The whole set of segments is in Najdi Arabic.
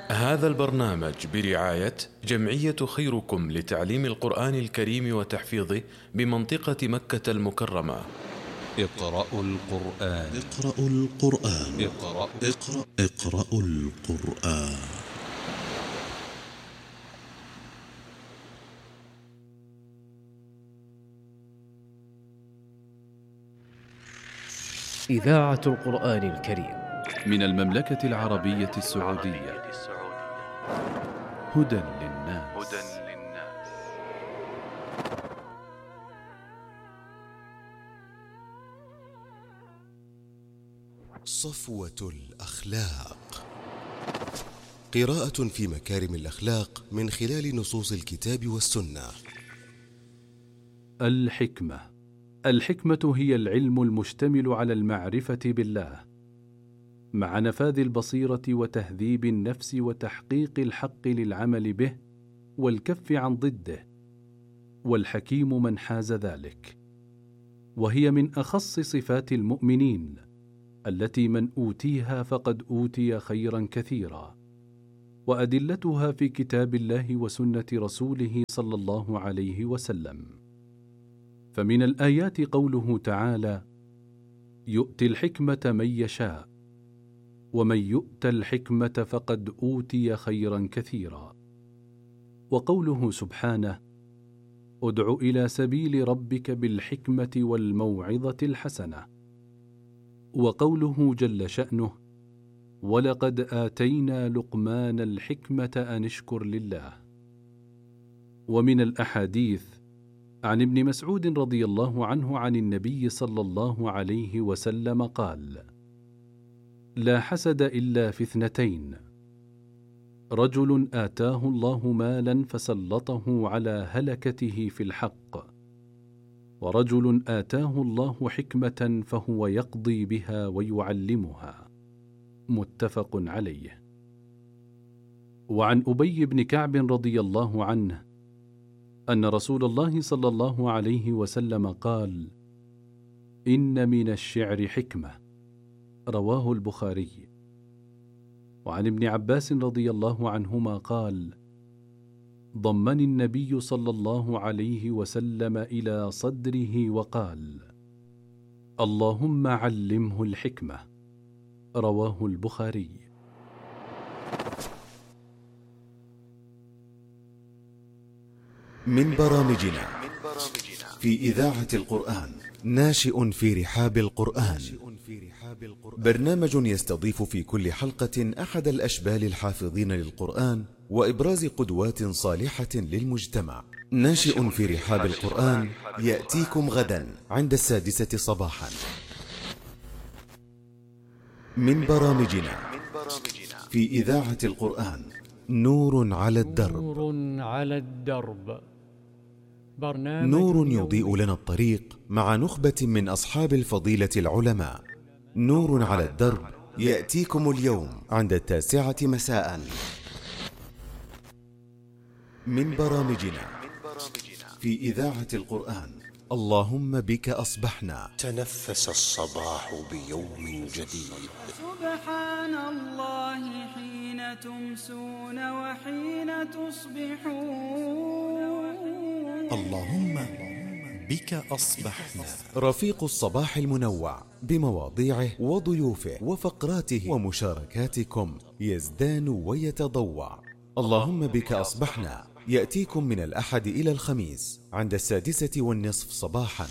هذا البرنامج برعاية جمعية خيركم لتعليم القرآن الكريم وتحفيظه بمنطقة مكة المكرمة. اقرأوا القرآن. اقرأوا القرآن. اقرأوا القرآن. إذاعة القرآن الكريم من المملكة العربية السعودية. هدى للناس. صفوة الأخلاق. قراءة في مكارم الأخلاق من خلال نصوص الكتاب والسنة. الحكمة هي العلم المشتمل على المعرفة بالله مع نفاذ البصيرة وتهذيب النفس وتحقيق الحق للعمل به والكف عن ضده، والحكيم من حاز ذلك، وهي من أخص صفات المؤمنين التي من أوتيها فقد أوتي خيرا كثيرا، وأدلتها في كتاب الله وسنة رسوله صلى الله عليه وسلم. فمن الآيات قوله تعالى: يؤتي الحكمة من يشاء، ومن يؤت الحكمة فقد أوتي خيرا كثيرا. وقوله سبحانه: ادع إلى سبيل ربك بالحكمة والموعظة الحسنة. وقوله جل شأنه: ولقد آتينا لقمان الحكمة أن اشكر لله. ومن الأحاديث عن ابن مسعود رضي الله عنه عن النبي صلى الله عليه وسلم قال: لا حسد إلا في اثنتين: رجل آتاه الله مالا فسلطه على هلكته في الحق، ورجل آتاه الله حكمة فهو يقضي بها ويعلمها. متفق عليه. وعن أبي بن كعب رضي الله عنه أن رسول الله صلى الله عليه وسلم قال: إن من الشعر حكمة. رواه البخاري. وعن ابن عباس رضي الله عنهما قال: ضمني النبي صلى الله عليه وسلم إلى صدره وقال: اللهم علمه الحكمة. رواه البخاري. من برامجنا في إذاعة القرآن ناشئ في رحاب القرآن، برنامج يستضيف في كل حلقة أحد الأشبال الحافظين للقرآن وإبراز قدوات صالحة للمجتمع. ناشئ في رحاب القرآن يأتيكم غدا عند 6:00 صباحا. من برامجنا في إذاعة القرآن نور على الدرب. نور يضيء لنا الطريق مع نخبة من أصحاب الفضيلة العلماء. نور على الدرب يأتيكم اليوم عند 9:00 مساء. من برامجنا في إذاعة القرآن اللهم بك أصبحنا. تنفس الصباح بيوم جديد. سبحان الله حين تمسون وحين تصبحون. اللهم بك أصبحنا. رفيق الصباح المنوع بمواضيعه وضيوفه وفقراته ومشاركاتكم يزدان ويتضوع. اللهم بك أصبحنا يأتيكم من الأحد إلى الخميس عند 6:30 صباحا.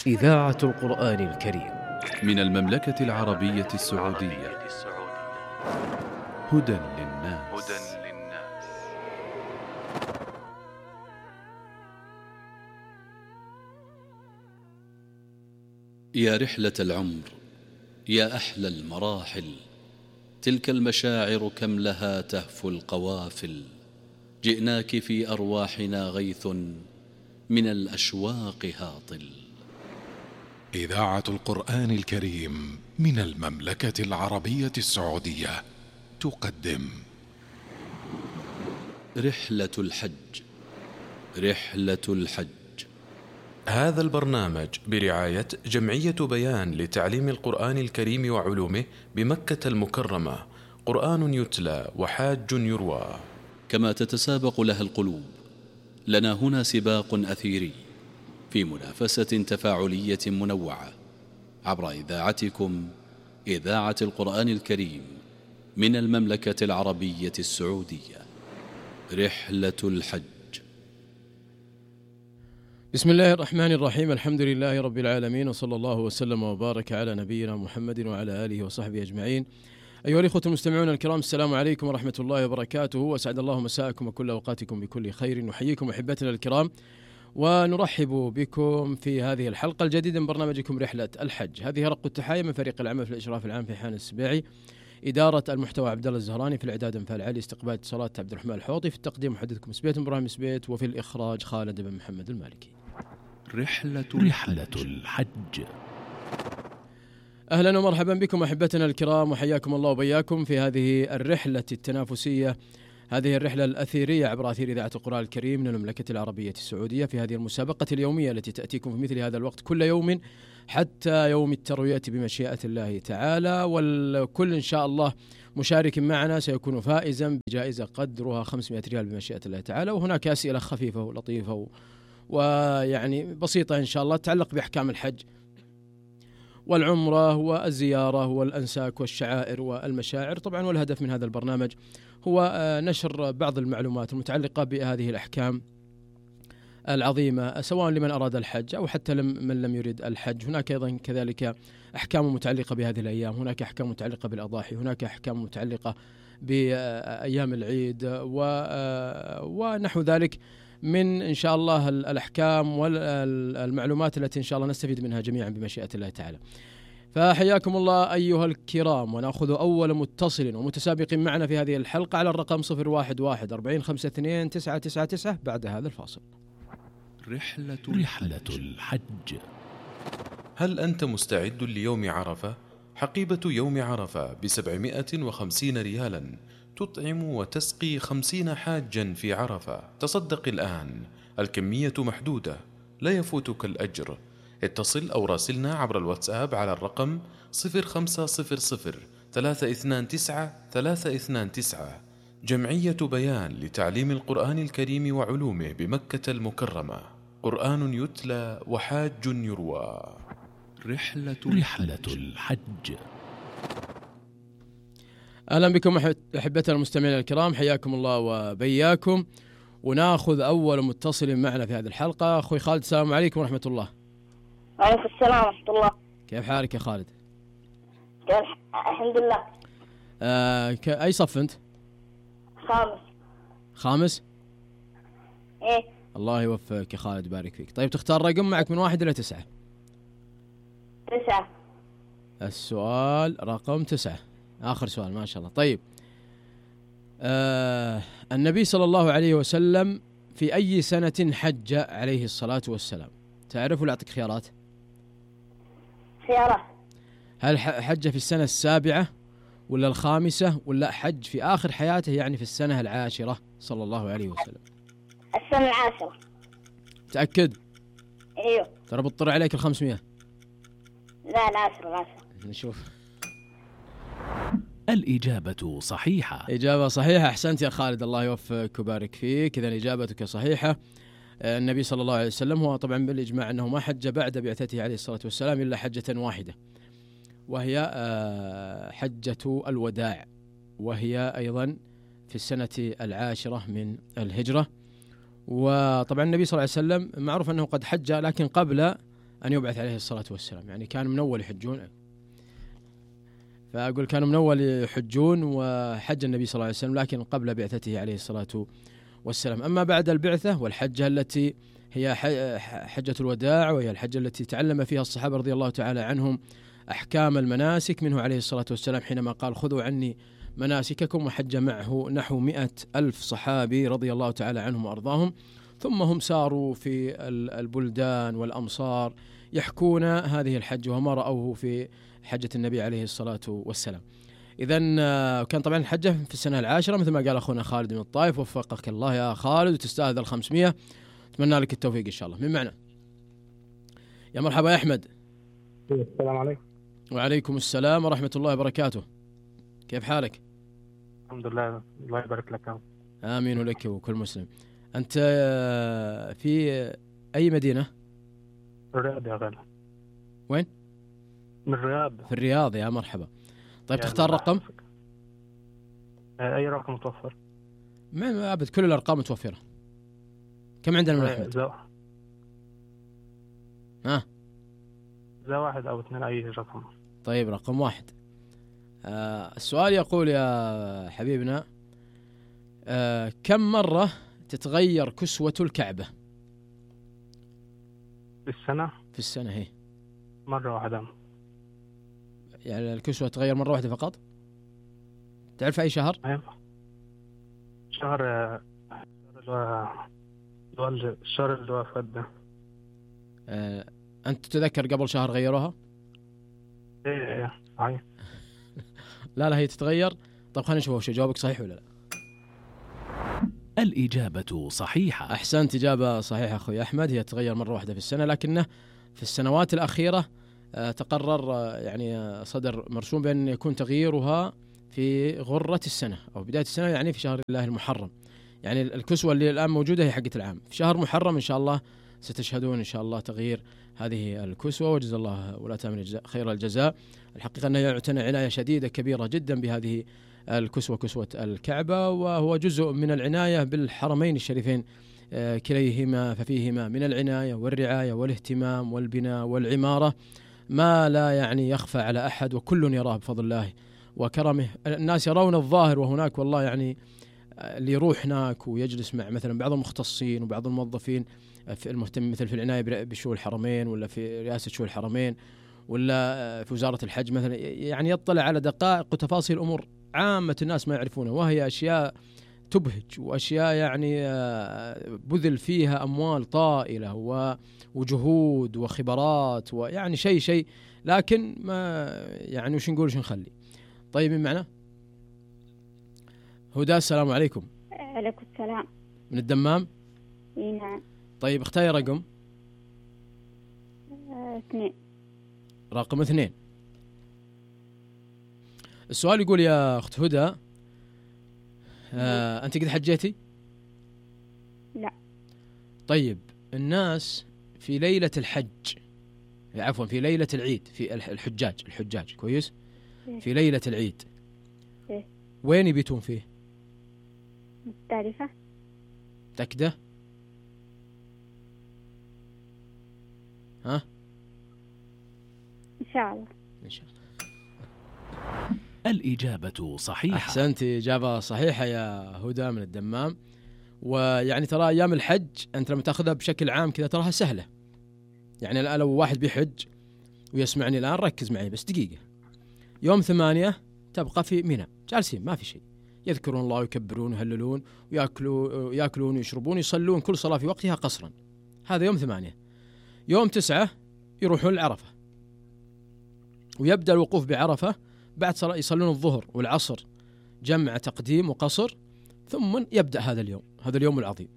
إذاعة القرآن الكريم من المملكة العربية السعودية. هدى للناس. يا رحلة العمر، يا أحلى المراحل، تلك المشاعر كم لها تهفو القوافل. جئناك في أرواحنا غيث من الأشواق هاطل. إذاعة القرآن الكريم من المملكة العربية السعودية تقدم رحلة الحج. رحلة الحج هذا البرنامج برعاية جمعية بيان لتعليم القرآن الكريم وعلومه بمكة المكرمة. قرآن يتلى وحاج يروى. كما تتسابق لها القلوب، لنا هنا سباق أثيري في منافسة تفاعلية منوعة عبر إذاعتكم، إذاعة القرآن الكريم من المملكة العربية السعودية. رحلة الحج. بسم الله الرحمن الرحيم. الحمد لله رب العالمين، وصلى الله وسلم وبارك على نبينا محمد وعلى آله وصحبه أجمعين. أيها الإخوة المستمعون الكرام، السلام عليكم ورحمة الله وبركاته، وأسعد الله مساءكم وكل أوقاتكم بكل خير. نحييكم أحبتنا الكرام ونرحب بكم في هذه الحلقة الجديدة من برنامجكم رحلة الحج. هذه رق التحايا من فريق العمل في الإشراف العام في حان السبيعي، إدارة المحتوى عبد الله الزهراني، في الإعداد انفال علي، استقبال اتصالات عبد الرحمن الحوطي، في التقديم محدثكم سبيت إبراهيم سبيت، وفي الإخراج خالد بن محمد المالكي. رحلة الحج. أهلا ومرحبا بكم أحبتنا الكرام، وحياكم الله وبياكم في هذه الرحلة التنافسية، هذه الرحلة الأثيرية عبر أثير إذاعة القرآن الكريم من المملكة العربية السعودية، في هذه المسابقة اليومية التي تأتيكم في مثل هذا الوقت كل يوم حتى يوم التروية بمشيئة الله تعالى. والكل إن شاء الله مشارك معنا سيكون فائزا بجائزة قدرها 500 ريال بمشيئة الله تعالى. وهناك أسئلة خفيفة ولطيفة ويعني بسيطة إن شاء الله تتعلق بأحكام الحج والعمرة والزيارة والأنساك والشعائر والمشاعر طبعا. والهدف من هذا البرنامج هو نشر بعض المعلومات المتعلقة بهذه الأحكام العظيمة، سواء لمن أراد الحج أو حتى من لم يريد الحج. هناك أيضا كذلك أحكام متعلقة بهذه الأيام، هناك أحكام متعلقة بالأضاحي، هناك أحكام متعلقة بأيام العيد ونحو ذلك من إن شاء الله الأحكام والمعلومات التي إن شاء الله نستفيد منها جميعا بمشيئة الله تعالى. فحياكم الله أيها الكرام، ونأخذ أول متصل ومتسابق معنا في هذه الحلقة على الرقم 011 4052 999 بعد هذا الفاصل. رحلة الحج. هل أنت مستعد ليوم عرفة؟ حقيبة يوم عرفة ب750 ريالا تطعم وتسقي 50 حاجا في عرفة. تصدق الآن، الكمية محدودة، لا يفوتك الأجر. اتصل أو راسلنا عبر الواتساب على الرقم 0500 329 329. جمعية بيان لتعليم القرآن الكريم وعلومه بمكة المكرمة. قرآن يتلى وحاج يروى. رحلة الحج. أهلا بكم أحبتنا المستمعين الكرام، حياكم الله وبياكم. وناخذ أول متصل معنا في هذه الحلقة. أخوي خالد، السلام عليكم ورحمة الله. وعليكم السلام ورحمة الله. كيف حالك يا خالد؟ الحمد لله. أي صف أنت؟ خامس؟ إيه. الله يوفقك يا خالد، بارك فيك. طيب تختار رقم معك من 1 إلى 9. 9. السؤال رقم 9، آخر سؤال ما شاء الله. طيب النبي صلى الله عليه وسلم في أي سنة حج عليه الصلاة والسلام؟ تعرف ولا أعطيك خيارات؟ خيارات. هل حج في السنة 7 ولا 5 ولا حج في آخر حياته، يعني في السنة 10 صلى الله عليه وسلم؟ السنة 10. تأكد؟ ايوه. ترى بتطر عليك 500. لا 10. نشوف. الإجابة صحيحة. إجابة صحيحة، أحسنت يا خالد، الله يوفقك وبارك فيك. إذن إجابتك صحيحة. النبي صلى الله عليه وسلم هو طبعا بالإجماع أنه ما حج بعد بعثته عليه الصلاة والسلام إلا حجة واحدة، وهي حجة الوداع، وهي أيضا في السنة 10 من الهجرة. وطبعا النبي صلى الله عليه وسلم معروف أنه قد حج لكن قبل أن يبعث عليه الصلاة والسلام، يعني كانوا من أول يحجون، فأقول كانوا من أول يحجون وحج النبي صلى الله عليه وسلم لكن قبل بعثته عليه الصلاة والسلام. أما بعد البعثة والحجة التي هي حجة الوداع، وهي الحجة التي تعلم فيها الصحابة رضي الله تعالى عنهم أحكام المناسك منه عليه الصلاة والسلام، حينما قال خذوا عني مناسككم، وحج معه نحو 100,000 صحابي رضي الله تعالى عنهم وأرضاهم. ثم هم ساروا في البلدان والأمصار يحكون هذه الحج وما رأوه في حجة النبي عليه الصلاة والسلام. إذن كان طبعا الحجة في السنة 10 مثل ما قال أخونا خالد من الطائف. وفقك الله يا خالد وتستاهل 500، أتمنى لك التوفيق إن شاء الله. من معنا؟ يا مرحبا يا أحمد. السلام عليكم. وعليكم السلام ورحمة الله وبركاته. كيف حالك؟ الحمد لله، الله يبارك لك. آمين ولك وكل مسلم. أنت في أي مدينة؟ الرياض يا غالي. وين؟ من الرياض. في الرياض، يا مرحبا. طيب تختار رقم؟ أي رقم متوفر؟ ما أبد، كل الأرقام متوفرة. كم عندنا من أحمد؟ ذا 1 أو 2، أي رقم. طيب رقم 1. السؤال يقول يا حبيبنا، كم مرة تتغير كسوة الكعبة؟ في السنة هي مرة واحدة. يعني الكسوة تتغير مرة واحدة فقط؟ تعرف أي شهر؟ شهر الشهر اللي هو فات ده. أنت تتذكر قبل شهر غيروها؟ إيه صحيح. لا هي تتغير. طب خلينا نشوف وش جوابك صحيح ولا لا. الإجابة صحيحة. أحسنت، إجابة صحيحة أخوي أحمد. هي تتغير مرة واحدة في السنة، لكنه في السنوات الأخيرة تقرر يعني صدر مرسوم بأن يكون تغييرها في غرة السنة أو بداية السنة، يعني في شهر الله المحرم. يعني الكسوة اللي الآن موجودة هي حقة العام. في شهر محرم إن شاء الله ستشهدون إن شاء الله تغيير هذه الكسوة، وجزا الله ولا تامن خير الجزاء. الحقيقة أنه يعتنى عناية شديدة كبيرة جدا بهذه الكسوة، كسوة الكعبة، وهو جزء من العناية بالحرمين الشريفين كليهما، ففيهما من العناية والرعاية والاهتمام والبناء والعمارة ما لا يعني يخفى على أحد، وكل يراه بفضل الله وكرمه. الناس يرون الظاهر، وهناك والله يعني اللي يروح هناك ويجلس مع مثلا بعض المختصين وبعض الموظفين في المهتم مثل في العناية بشؤون الحرمين، ولا في رئاسة شؤون الحرمين، ولا في وزارة الحج مثلا، يعني يطلع على دقائق وتفاصيل أمور عامة الناس ما يعرفونها، وهي أشياء تبهج، وأشياء يعني بذل فيها أموال طائلة وجهود وخبرات، ويعني شيء لكن ما يعني وش نقول وش نخلي. طيب من معنا؟ هدى، السلام عليكم. عليكم السلام. من الدمام؟ نعم. طيب اختاري رقم. 2. رقم 2. السؤال يقول يا أخت هدى، أنت قد حجيتي؟ لا. طيب الناس في ليلة الحج، عفوا في ليلة العيد، في الحجاج كويس؟ في ليلة العيد وين يبيتون فيه؟ مختلفة. تكده؟ ها؟ إن شاء الله. الإجابة صحيحة. أحسنت، إجابة صحيحة يا هدى من الدمام. ويعني ترى أيام الحج أنت لما تأخذها بشكل عام كذا تراها سهلة. يعني الآن لو واحد بيحج ويسمعني الآن ركز معي بس دقيقة. يوم 8 تبقى في منى جالسين ما في شيء، يذكرون الله ويكبرون ويهللون ويأكلون ويشربون ويصلون كل صلاة في وقتها قصرا. هذا يوم 8. يوم 9 يروحون العرفة، ويبدأ الوقوف بعرفة بعد صلاة، يصلون الظهر والعصر جمع تقديم وقصر، ثم يبدأ هذا اليوم العظيم،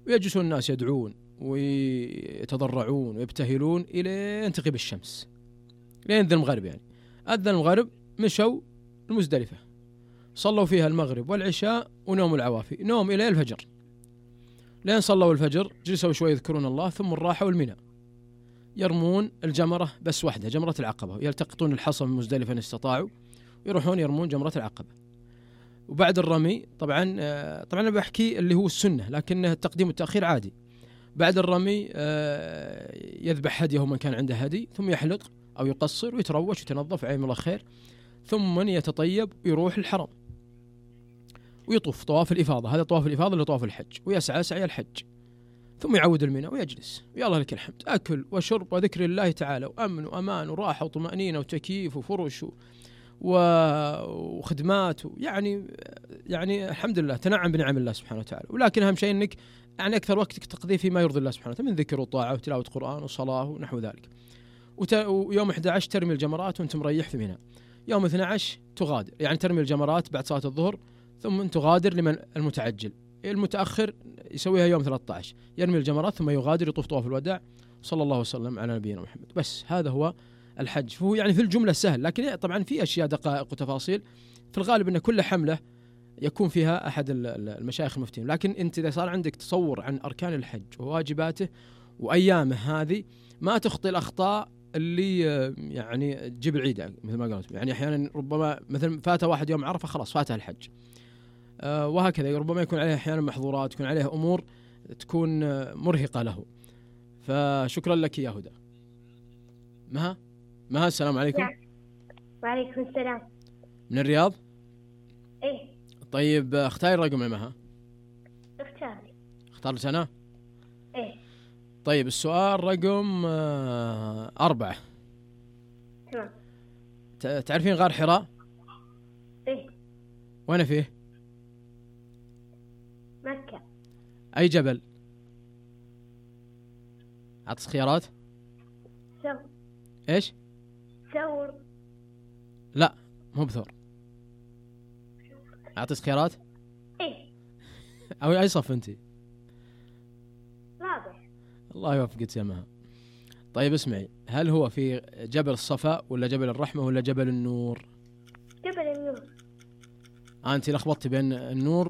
ويجلسون الناس يدعون ويتضرعون ويبتهلون إلى أن تغيب الشمس، لين ذن المغرب. يعني أذن المغرب مشوا المزدلفة، صلوا فيها المغرب والعشاء ونوم العوافي، نوم إلى الفجر، لين صلوا الفجر جلسوا شوي يذكرون الله، ثم راحوا المنى يرمون الجمرة بس واحدة، جمرة العقبة، يلتقطون الحصى من مزدلفة إن استطاعوا، يروحون يرمون جمرة العقبة. وبعد الرمي طبعا أنا بحكي اللي هو السنة، لكن التقديم والتأخير عادي. بعد الرمي يذبح هديه من كان عنده هدي، ثم يحلق أو يقصر ويتروش ويتنظف عين الله خير، ثم يتطيب ويروح الحرم ويطوف طواف الإفاضة. هذا طواف الإفاضة اللي طواف الحج، ويسعى سعي الحج، ثم يعود المنى ويجلس، ويا الله لك الحمد، أكل وشرب وذكر الله تعالى وأمن وأمان وراحة وطمأنينة وتكييف وفرش وخدمات، يعني الحمد لله تنعم بنعم الله سبحانه وتعالى. ولكن أهم شيء أنك يعني أكثر وقتك تقضيه فيما يرضي الله سبحانه وتعالى من ذكر وطاعة وتلاوة قرآن وصلاة ونحو ذلك. ويوم 11 ترمي الجمرات وأنت مريح في منى. يوم 12 تغادر، يعني ترمي الجمرات بعد صلاة الظهر، ثم تغادر لمن المتعجل. المتأخر يسويها يوم 13، يرمي الجمرات ثم يغادر يطوف طواف الوداع، صلى الله وسلم على نبينا محمد. بس هذا هو الحج. فهو يعني في الجملة سهل، لكن طبعا في أشياء دقائق وتفاصيل. في الغالب أن كل حملة يكون فيها أحد المشايخ المفتين، لكن أنت إذا صار عندك تصور عن أركان الحج وواجباته وأيامه هذه ما تخطي الأخطاء اللي يعني تجيب العيد مثل ما قلت. يعني أحيانا ربما مثلا فات واحد يوم عرفة خلاص فاتها الحج، وهكذا ربما يكون عليه أحيانا محظورات، يكون عليه أمور تكون مرهقة له. فشكرا لك يا هدى. مها السلام عليكم. وعليكم السلام. من الرياض؟ ايه. طيب اختاري الرقم يا مها. اختارت أنا؟ ايه. طيب السؤال رقم 4. تمام. تعرفين غار حراء؟ ايه. وين فيه؟ مكة. أي جبل؟ أعطس خيارات؟ إيش؟ ثور. لا مو بثور. أعطس خيارات؟ إيه. أو أي صف أنتي؟ رابع. الله يوفقك يا مها. طيب اسمعي، هل هو في جبل الصفا ولا جبل الرحمة ولا جبل النور؟ جبل النور. أنتي لخبطتي بين النور